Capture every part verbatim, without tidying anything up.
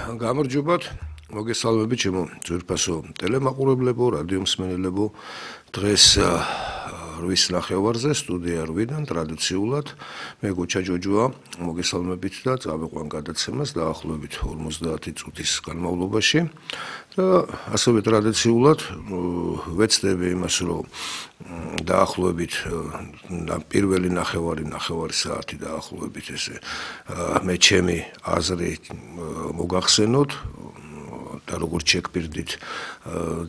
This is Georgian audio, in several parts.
გამარჯობათ, მოგესალმებით ჩემო ძვირფასო ტელემაყურებლებო, რადიო მსმენელებო. დღეს რვის ნახევარზე სტუდია რვიდან ტრადიციულად მე გოჩა ჯოჯოა, მოგესალმებით და წავიყვან გადაცემას დაახლოებით ორმოცდაათი წუთის განმავლობაში. და ასევე ტრადიციულად ვეცდები იმას, რომ დაახლოებით პირველი ნახევარი ნახევარი საათი დაახლოებით ესე მე ჩემი აზრი მოგახსენოთ და როგორც შეგპირდით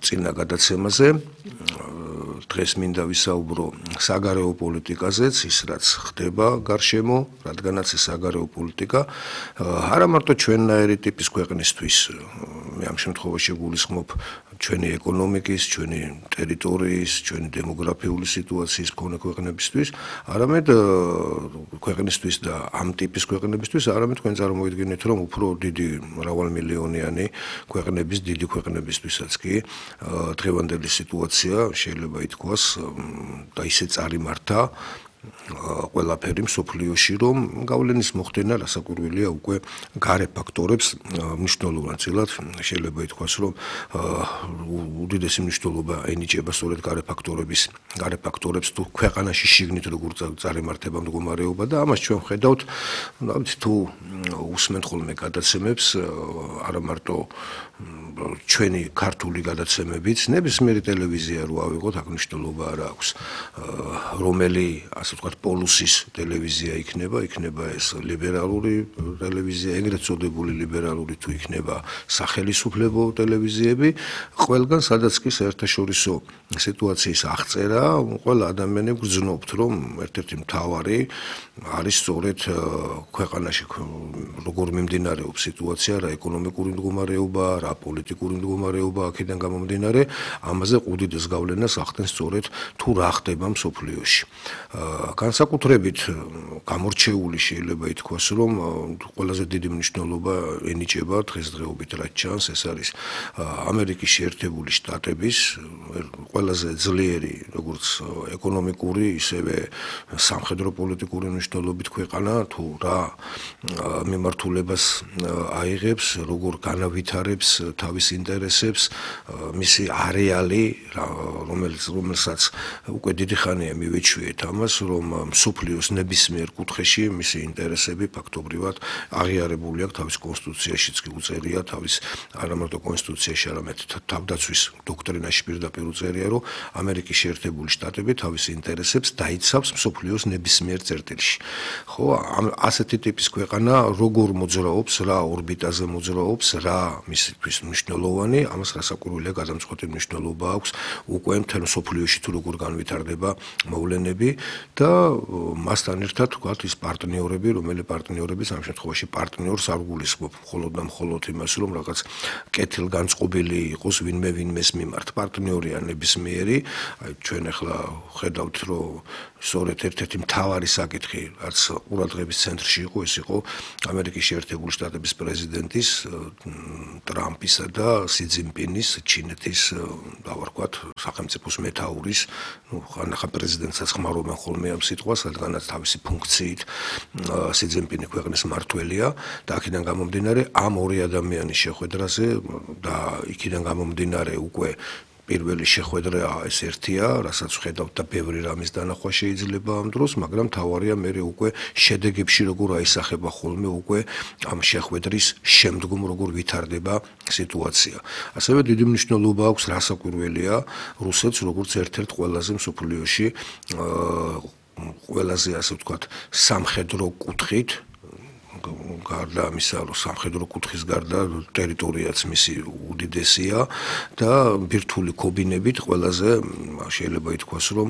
წინა გადაცემაზე. დღეს მინდა ვისაუბრო საგარეო პოლიტიკაზეც, ის რაც ხდება გარშემო, რადგანაც ეს საგარეო პოლიტიკა არა მარტო ჩვენნაირი ტიპის ქვეყნისთვის, მე ამ შემთხვევაში გულისხმობ ჩვენი ეკონომიკის, ჩვენი ტერიტორიის, ჩვენი დემოგრაფიული სიტუაციის მქონე ქვეყნებისთვის, არამედ ქვეყნისთვის და ამ ტიპის ქვეყნებისთვის, არამედ თქვენ წარმოიდგინეთ, რომ უფრო დიდი მრავალმილიონიანი ქვეყნების, დიდი ქვეყნებისთვისაც კი დღევანდელი სიტუაცია შეიძლება ითქვას და ისე წარიმართა ყველაფერი მსოფლიოში, რომ გავლენის მოხდენა რასაკვირველია უკვე გარე ფაქტორებს მნიშვნელოვნად შეიძლება ითქვას, რომ უდიდესი მნიშვნელობა ენიჭება სწორედ გარე ფაქტორების, გარე ფაქტორებს თუ ქვეყანაში შიგნით როგორ წარიმართება მდგომარეობა და ამას ჩვენ ვხედავთ, თუ უსმენთ ხოლმე გადაცემებს, არა მარტო ჩვენი ქართული გადაცემებიც, ნებისმიერი ტელევიზია რო ავიღოთ, აქ მნიშვნელობა არ აქვს, რომელი ასე ვთქვათ პოლუსის ტელევიზია იქნება, იქნება ეს ლიბერალური ტელევიზია, ეგრეთ წოდებული ლიბერალური თუ იქნება სახელისუფლებო ტელევიზიები, ყველგან სადაც კი საერთაშორისო სიტუაციის აღწერა, ყველა ადამიანი გრძნობთ, რომ ერთ-ერთი მთავარი არის სწორედ ქვეყანაში როგორ მიმდინარეობს სიტუაცია, რა ეკონომიკური მდგომარეობა, რა პოლიტიკური მდგომარეობა აქედან გამომდინარე, ამაზე უდიდეს გავლენას ახდენს სწორედ თუ რა ხდება მსოფლიოში. განსაკუთრებით გამორჩეული შეიძლება ითქვას, რომ ყველაზე დიდი მნიშვნელობა ენიჭება დღესდღეობით რაც ჩანს, ეს არის ამერიკის შეერთებული შტატების ყველაზე ძლიერი როგორც ეკონომიკური, ისევე სამხედრო პოლიტიკური მნიშვნელობით ქვეყანა, თუ რა მიმართულებას აიღებს, როგორ განავითარებს თავის ინტერესებს, მისი არეალი, რომელიც რომელსაც უკვე დიდი ხანია მივეჩვიეთ ამას, რომ მსოფლიოს ნებისმიერ კუთხეში მისი ინტერესები ფაქტობრივად აღიარებული აქვს თავის კონსტიტუციაშიც კი უწერია, თავის არა მარტო კონსტიტუციაში, არამედ თავდაცვის დოქტრინაში პირდაპირ უწერია, რომ ამერიკის შეერთებული შტატები თავის ინტერესებს დაიცავს მსოფლიოს ნებისმიერ წერტილში. ხო, ასეთი ტიპის ქვეყანა როგორ მოძრაობს, რა ორბიტაზე მოძრაობს, რა მისთვის მნიშვნელოვანი, ამას რასაკვირველია გადამწყვეტი მნიშვნელობა აქვს უკვე მთელ მსოფლიოში თუ როგორ განვითარდება მოვლენები და მასთან ერთად ვთქვათ ის პარტნიორები, რომელი პარტნიორების ამ შემთხვევაში პარტნიორს არ გულისხმობ მხოლოდ და მხოლოდ იმას, რომ რაღაც კეთილგანწყობილი იყოს ვინმე ვინმეს მიმართ. პარტნიორია ნებისმიერი, აი ჩვენ ახლა ხედავთ, რომ სწორედ ერთ-ერთი მთავარი საკითხი, რაც ყურადღების ცენტრში იყო, ეს იყო ამერიკის შეერთებული შტატების პრეზიდენტის ტრამპისა და სი ძინპინის, ჩინეთის დავარქვათ სახელმწიფოს მეთაურის, ну, ხანახა პრეზიდენტსაც ხმარობენ ხოლმე ამ სიტყვას, რადგანაც თავისი ფუნქციით სი ძინპინი ქვეყნის მმართველია და აქედან გამომდინარე ამ ორი ადამიანის შეხვედრაზე და იქიდან გამომდინარე უკვე პირველი შეხვედრა ეს ერთია, რასაც ვხედავთ და ბევრი რამის დანახვა შეიძლება ამ დროს, მაგრამ თავარია მე უკვე შედეგებში როგორ აისახება ხოლმე უკვე ამ შეხვედრის შემდგომ როგორ ვითარდება სიტუაცია. ასევე დიდი მნიშვნელობა აქვს რასაკვირველია რუსეთს როგორც ერთ-ერთ ყველაზე მსოფლიოში ყველაზე ასე ვთქვათ სამხედრო კუთხით გარდა ამისა, რომ სამხედრო კუთხის გარდა ტერიტორიაც მისი უდიდესია და ბირთვული ქობინებით ყველაზე შეიძლება ითქვას, რომ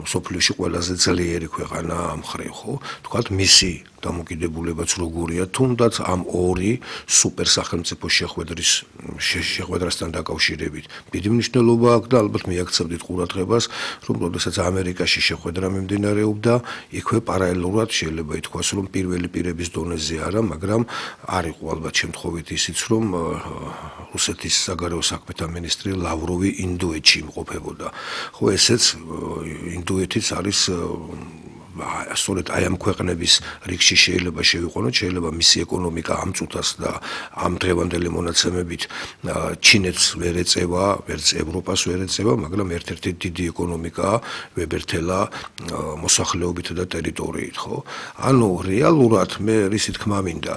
მსოფლიოში ყველაზე ძლიერი ქვეყანა ამ მხრივ, ხო? თქვათ მისი დამოკიდებულებაც როგორია, თუნდაც ამ ორი სუპერ სახელმწიფო შეხვედრის შეხვედრასთან დაკავშირებით. დიდი მნიშვნელობა აქვს და ალბათ მიაქცევდით ყურადღებას, რომ როდესაც ამერიკაში შეხვედრა მიმდინარეობდა, იქვე პარალელურად შეიძლება ითქვას, რომ პირველი პირების დონეზე არა, მაგრამ არ იყო ალბათ შემთხვევით ისიც, რომ რუსეთის საგარეო საქმეთა მინისტრი ლავროვი ინდოეთში იმყოფებოდა. ხო, ესეც ინდოეთიც არის სწორედ აი ამ ქვეყნების რიგში შეიძლება შევიყვანოთ, შეიძლება მისი ეკონომიკა ამ წუთას და ამ დღევანდელი მონაცემებით ჩინეთს ვერ ეწევა, ვერც ევროპას ვერ ეწევა, მაგრამ ერთ-ერთი დიდი ეკონომიკაა ვებერთელა მოსახლეობით და ტერიტორიით, ხო? ანუ რეალურად მე რისი თქმა მინდა,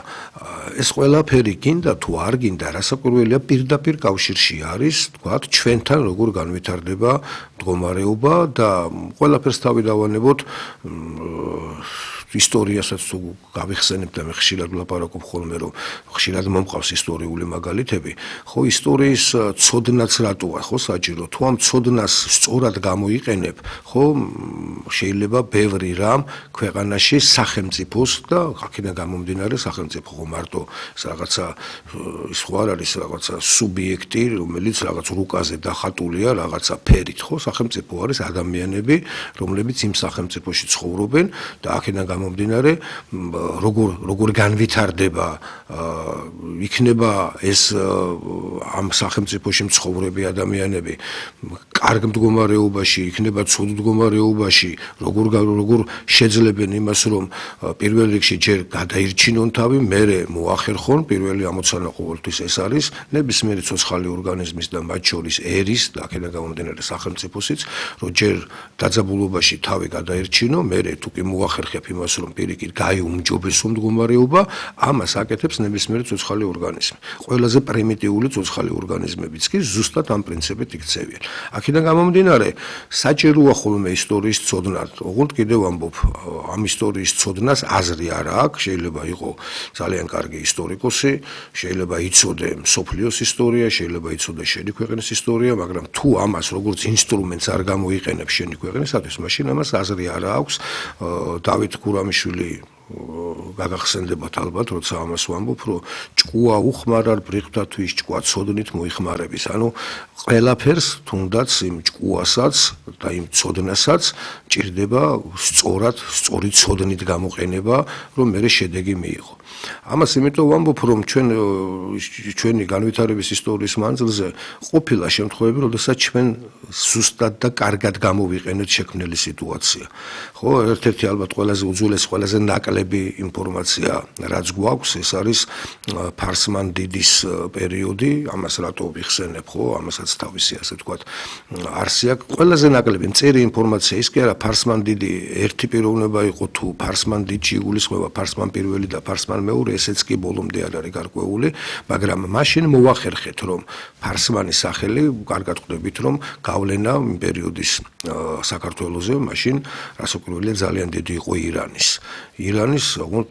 ეს ყველაფერი გინდა თუ არ გინდა, რასაკვირველია პირდაპირ კავშირში არის, თქვათ, ჩვენთან როგორ განვითარდება მდგომარეობა და ყველაფერს თავი დავანებოთ ისტორიასაც თუ გავიხსენებ და მე ხშირად ვლაპარაკობ ხოლმე, რომ ხშირად მომყავს ისტორიული მაგალითები, ხო ისტორიის ცოდნაც რატოა, ხო საჭირო, თუ ამ ცოდნას სწორად გამოიყენებ, ხო შეიძლება ბევრი რამ ქვეყანაში სახელმწიფოს და აქედან გამომდინარე სახელმწიფო ხო მარტო ეს რაღაცა ის ხო არ არის რაღაცა სუბიექტი, რომელიც რაღაც რუკაზე დახატულია რაღაცა ფერით, ხო სახელმწიფო არის ადამიანები, რომლებიც იმ სახელმწიფოში ცხოვრობენ და აქედან გამომდინარე როგორ როგორ განვითარდება იქნება ეს ამ სახელმწიფოში მცხოვრები ადამიანები კარგ მდგომარეობაში, იქნება ცუდ მდგომარეობაში, როგორ როგორ შეძლებენ იმას, რომ პირველ რიგში ჯერ გადაირჩინონ თავი, მერე მოახერხონ, პირველი ამოცანა ყოველთვის ეს არის, ნებისმიერი ცოცხალი ორგანიზმის და მათ შორის ერის და აქედან გამომდინარე სახელმწიფოსიც, რომ ჯერ დაძაბულობაში თავი გადაირჩინო, მერე თუ კი მოახერხებ იმას, რომ პირიქით გაიუმჯობესო მდგომარეობა, ამას აკეთებს ნებისმიერი ცოცხალი ორგანიზმი. ყველაზე პრიმიტიული ცოცხალი ორგანიზმებიც კი ზუსტად ამ პრინციპით იქცევიან. აქედან გამომდინარე, საჭიროა ხოლმე ისტორიის ცოდნა. ოღონდ კიდევ ამბობ, ამ ისტორიის ცოდნას აზრი არ აქვს, შეიძლება იყო ძალიან კარგი ისტორიკოსი, შეიძლება იცოდე მსოფლიოს ისტორია, შეიძლება იცოდე შენი ქვეყნის ისტორია, მაგრამ თუ ამას როგორც ინსტრუმენტს არ გამოიყენებს შენი ქვეყნისათვის, მაშინ ამას აზრი არ აქვს. დავით გურამიშვილი გაგახსენდებათ ალბათ, როცა ამას ვამბობ, რომ ჭკუა უხმარარ ბრიყვთათვის ჭკუა ცოდნით მოიხმარების. ანუ ყველაფერს თუნდაც იმ ჭკუასაც და იმ ცოდნასაც ჭირდება სწორად, სწორი ცოდნით გამოყენება, რომ მერე შედეგი მიიღო. ამას იმიტომ ვამბობ, რომ ჩვენ ჩვენი განვითარების ისტორიის მანძილზე ყოფილა შემთხვევები, როდესაც ჩვენ ზუსტად და კარგად გამოვიყენეთ შექმნილი სიტუაცია. ხო, ერთ-ერთი ალბათ ყველაზე უძველესი, ყველაზე ნაკლები ინფორმაცია, რაც გვაქვს, ეს არის ფარსმან დიდის პერიოდი, ამას რატო ვიხსენებ, ხო, ამასაც თავისი ასე ვთქვათ არსი აქვს. ყველაზე ნაკლები მწირი ინფორმაცია ის კი არა, ფარსმან დიდი ერთი პიროვნება იყო თუ ფარსმან დიდში იგულისხმება ფარსმან პირველი და ფარსმან მეორე, ესეც კი ბოლომდე არ არის გარკვეული, მაგრამ მაშინ მოახერხეთ, რომ ფარსმანის სახელი, კარგად ხვდებით, რომ გავლენა იმ პერიოდის საქართველოზე, მაშინ რასაკვირველია ძალიან დიდი იყო ირანის. ირანის, ოღონდ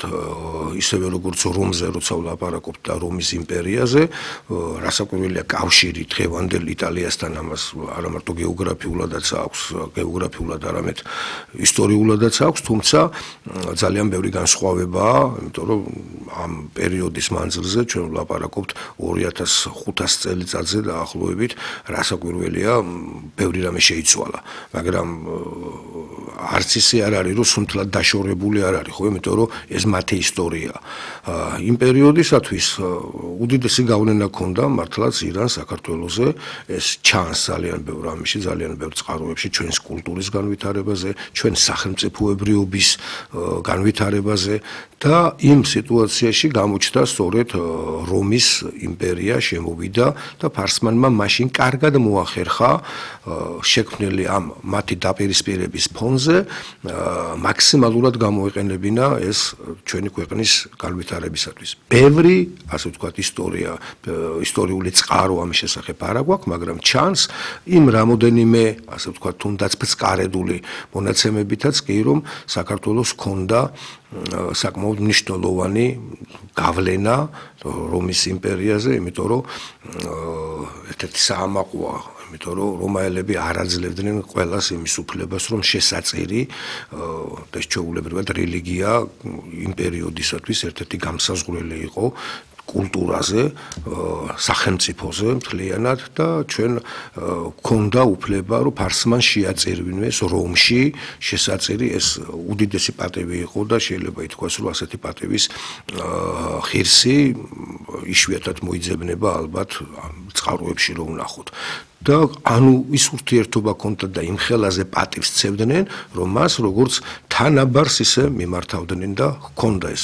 ისევე როგორც რომზე, როცა ვლაპარაკობთ და რომის იმპერიაზე, რასაკვირველია კავშირი დღევანდელ იტალიასთან ამას არა მარტო გეოგრაფიულადაც აქვს, გეოგრაფიულად არამედ ისტორიულადაც აქვს, თუმცა ძალიან ბევრი განსხვავებაა, იმიტომ რომ ამ პერიოდის მანძილზე ჩვენ ვლაპარაკობთ ორი ათას ხუთას წელიწადზე დაახლოებით, რასაკვირველია, ბევრი რამე შეიცვალა, მაგრამ არც ისე არ არის, რომ სუნთლად დაშორებული არ არის, ხო, იმიტომ რომ ეს მათი ისტორია. იმ პერიოდისათვის უდიდესი გავლენა ჰქონდა მართლაც ირანს საქართველოზე, ეს ჩანს ძალიან ბევრ ამაში, ძალიან ბევრ წყაროებში, ჩვენს კულტურის განვითარებაზე, ჩვენ სახელმწიფოებრიობის განვითარებაზე და იმ სიტუაციაში გამოჩნდა სწორედ რომის იმპერია შემოვიდა და ფარსმანმა მაშინ კარგად მოახერხა შექმნილი ამ მათი დაპირისპირების ფონზე მაქსიმალურად გამოეყენებინა ეს ჩვენი ქვეყნის განვითარებისათვის. ბევრი, ასე ვთქვათ, ისტორია, ისტორიული წყარო ამის შესახებ არ აქვს, მაგრამ ჩანს იმ რამოდენიმე, ასე ვთქვათ, თუნდაც ბწყარედული მონაცემებითაც კი, რომ საქართველოს ჰქონდა საკმაოდ მნიშვნელოვანი გავლენა რომის იმპერიაზე, იმიტომ რომ ერთ-ერთი საამაყოა, იმიტომ რომ რომაელები არ აძლევდნენ ყველას იმის უფლებას, რომ შესაწირი და ჩვეულებრივად რელიგია იმ პერიოდისათვის ერთ-ერთი გამსაზღვრელი იყო კულტურაზე, სახელმწიფოზე მთლიანად და ჩვენ გქონდა უფლება, რომ ფარსმან შეაწირვინეს რომში შესაწირი ეს უდიდესი პატივი იყო და შეიძლება ითქვას, რომ ასეთი პატივის ღირსი იშვიათად მოიძებნება ალბათ წყაროებში რომ ვნახოთ. და ანუ ის ურთიერთობა ქონდა და იმ ხელაზე პატივს ცევდნენ, რომ მას როგორც თანაბარს ისე მიმართავდნენ და ჰქონდა ეს